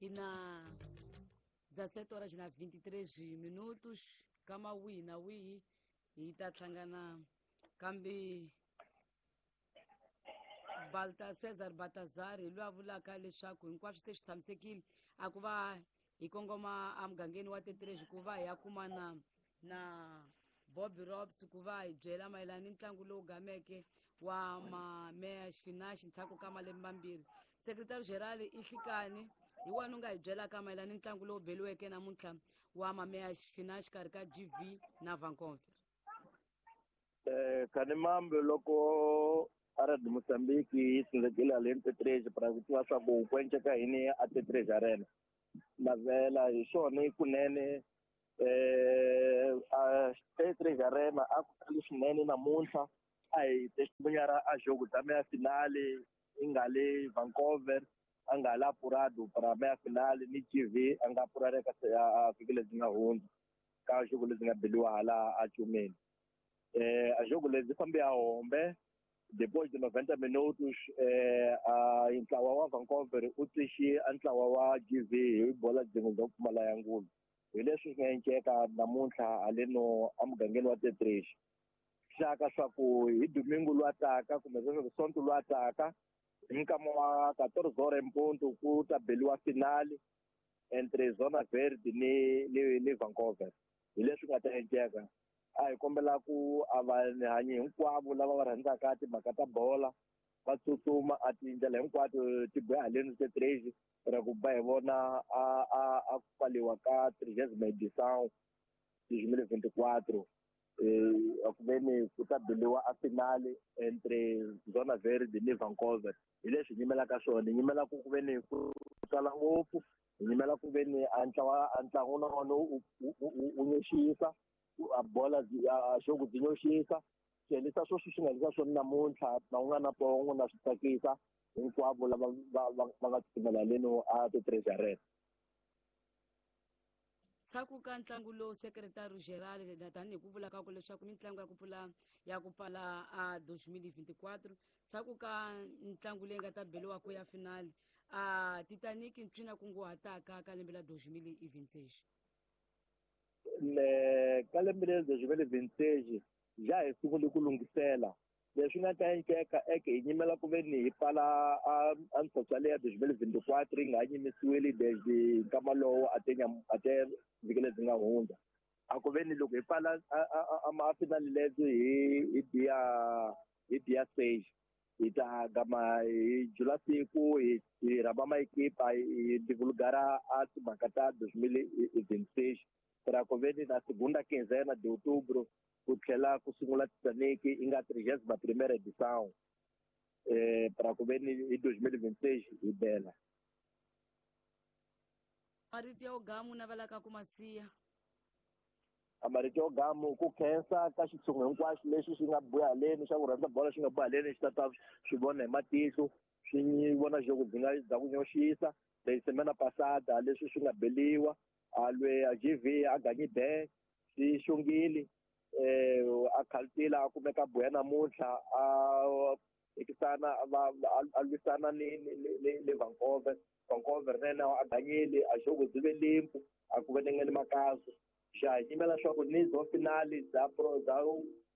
Hi na 17 horas na 23 minutos kama wihi na wihi hi ta hlangana kambe Balta Cesar Baltazar hi loyi a vulaka leswaku hinkwaswo se swi tshamisekile a ku va hi kongoma emugangeni wa Tetrezi ku va hi ya kumana na Bobby Robs ku va hi byela mayelana ni ntlangu lowu gameke wa mameya xifinaxi ndzhaku ka malembe mambirhi. Secretary General i Nhlikani hi wona u nga hi byelaka mayelana ni ntlangu lowu beliweke namuntlha wa mameya xifina xikarhi ka GV na Vancouver. Khanimambe loko Arad Mozambique yi tsandzekile haleni Tetrezi para ku tiva swa ku ku enceka yini a Tetrezi Arena. Navela hi swona kunene a Tetrezi Arena a ku tali swinene namuntlha a hi testimunyara a jogo bya meya finale i nga le Vancouver a nga la apurado para meya finale ni GV a nga apurare ka a vhiki lebyi nga hundza ka jogo lebyi nga beliwa hala a Cumeni. A jogo lebyi fambe a hombe depois de 90 minutos a ntlawa wa Vancouver u twixe a ntlawa wa GV hi bola byin'we bya ku pfumala ya ngulu. Hi leswi swi nga enceka namuntlha haleno emugangeni wa Tetrezi. Xaka swa ku hi domingo lwa taka kumbe sweswo sonto lwa taka hi nkama wa 14 horas em ponto ku ta beliwa finale entre Zona Verde ni Vancouver. Hi leswi nga ta enceka. A hi kombela ku a vanhanyi hinkwavo lava va rhandzaka timhaka ta bola va tsutsuma a tindlela hinkwato ti boha haleni Tetrezi ra ku ba hi vona a ku pfaliwa ka 30ª edição 2024 a ku veni ku ta beliwa a finale entre Zona Verde ni Vancouver. Hi leswi hi nyimelaka swona, hi nyimela ku veni ku tala ngopfu, hi nyimela ku veni a ntlawa a ntlangu na wona u nyoxisa a bola a xogo byi nyoxisa swi helisa sweswi swi nga helisa swona namuntlha na un'wana na pongo na swi tsakisa hinkwavo lava va nga tsutsumela leno a Tetrezi Arena. Ndzhaku ka ntlangu lowu Secretary General na tanihi ku vula ka ku leswaku mitlangu ya ku pfula ya ku pfala a 2024 ndzhaku ka ntlangu leyi nga ta beliwa ku ya finale a Titanic ntswina kunguhataka ka lembe la 2026. Le ka lembe leri 2026 ja hi sungule ku lunghisela leswi nga ta enceka eke hi nyimela ku veni hi pfala a ntshotswa leya 2024 yi nga ha nyimisiwile desde nkama lowo a te a te vhiki lebyi nga hundza. A ku veni loko hi pfala a finale lebyi hi dia stage hi ta gama hi jula siku hi rhamba maekipa hi divulgara a timhaka ta 2026 para ku veni na segunda quinzena de outubro ku tlhela ku sungula Titanic yi nga 31ª edição para ku veni hi 2026 hi bela. Marito ya ugamu navelaka ku masiya. A marito ya ugamu ku khensa ka xitshungu hinkwaxo lexi xi nga buya haleni xa ku rhandza bola xi nga buya haleni xi ta ta swi vona hi matihlo swi vona jogo byi nga bya ku nyoxisa leyi semana passada leswi swi nga beliwa a lwe a GV a ganyi be swi xongile a khaltila a kumeka buya namuntlha a hikisana a lwisana ni Vancouver. Vancouver na yena a ganyile a jogo byi ve limpu a ku venengeni makazo. Xa hi nyimela swa ku ni zo finale bya pro bya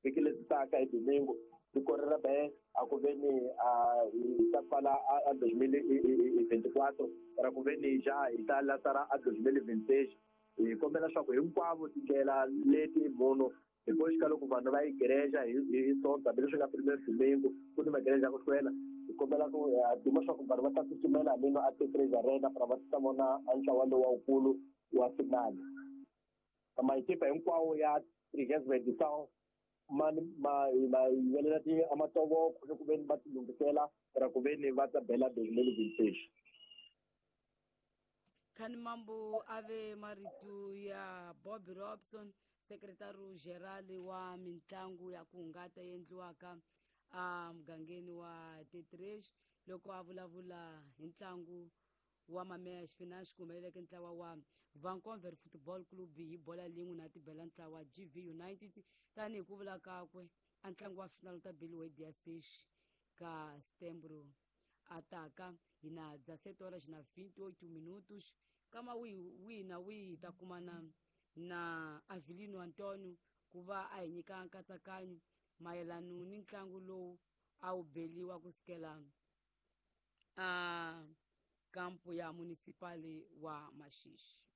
vhiki lebyi taka hi domingo tiko ra be a ku veni a hi ta pfala a 2024 ra ku veni ja hi ta lasara a 2026. Hi kombela swa ku hinkwavo tindlela leti munhu hi koxika loko vanhu va yi gereja hi sonto hambileswi nga primero domingo ku ni magereja ya ku hlwela. Hi kombela ku duma swa ku vanhu va ta tsutsumela haleno a Tetrezi Arena para va ta vona a ntlawa lowu wukulu wa finale. Maekipa hinkwawo ya 30ª edição ma yivelela ti a matovoko ni ku veni va ti lunghisela ra ku veni va ta bela 2026. Khanimambu ave marito ya Bobby Robson, Secretary General wa mitlangu ya ku hungata endliwaka a mugangeni wa Tetrezi loko a vulavula hi ntlangu wa mameya xifinaxi ku humeleleke ntlawa wa Vancouver Football Club hi bola lin'we na tibela ntlawa GV United tanihi ku vula kakwe a ntlangu wa final ta beliwa hi dia 6 ka Setembro. a taka hi na 17 horas na 28 minutos. Kama wihi wihi na wihi hi ta kumana na Avelino Antonio ku va a hi nyika nkatsakanyo mayelano ni ntlangu lowu a wu beliwa kusukela a kampu ya municipal wa Maxixi.